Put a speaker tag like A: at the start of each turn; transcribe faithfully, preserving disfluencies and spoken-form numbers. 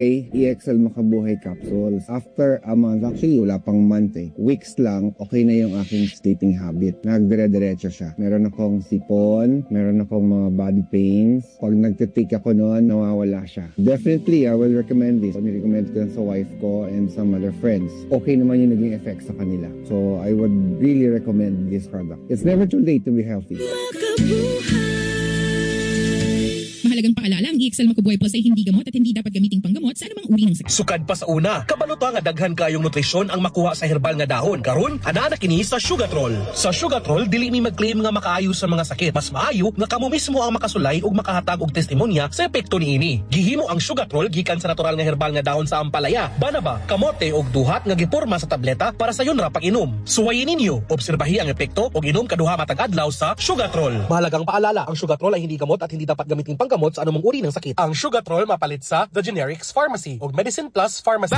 A: E X L Makabuhay capsules. After a month, actually wala pang month eh. Weeks lang, okay na yung aking sleeping habit. Nagdire-diretso siya. Meron akong sipon, meron akong mga body pains. Pag nagtitake ako noon, nawawala siya. Definitely, I will recommend this. Ni-recommend ko sa wife ko and some other friends. Okay naman yung naging effect sa kanila. So, I would really recommend this product. It's never too late to be healthy.
B: Mahalagang paalala, ang E X L Makubuhay Plus ay hindi gamot at hindi dapat gamiting panggamot sa anumang uri ng sakit.
C: Sukad pa sa una, kabalo ta nga daghan kayong nutrisyon ang makuha sa herbal nga dahon. Karon, anaa na kini sa Sugatrol. Sa Sugatrol, dili mi mag-claim nga makaayo sa mga sakit. Mas maayo nga kamo mismo ang makasulay ug makahatag og testimonya sa epekto niini. Gihimo ang Sugatrol gikan sa natural nga herbal nga dahon sa ampalaya, banaba, kamote ug duhat nga giporma sa tableta para sayon ra pag-inom. Suwayin ninyo, obserbahi ang epekto ug inom kaduha matag adlaw sa Sugatrol. Mahalagang paalala, ang Sugatrol ay hindi gamot at hindi dapat gamitin panggamot sa anumang uri ng sakit. Ang Sugatrol mapalit sa The Generics Pharmacy ug Medicine Plus Pharmacy.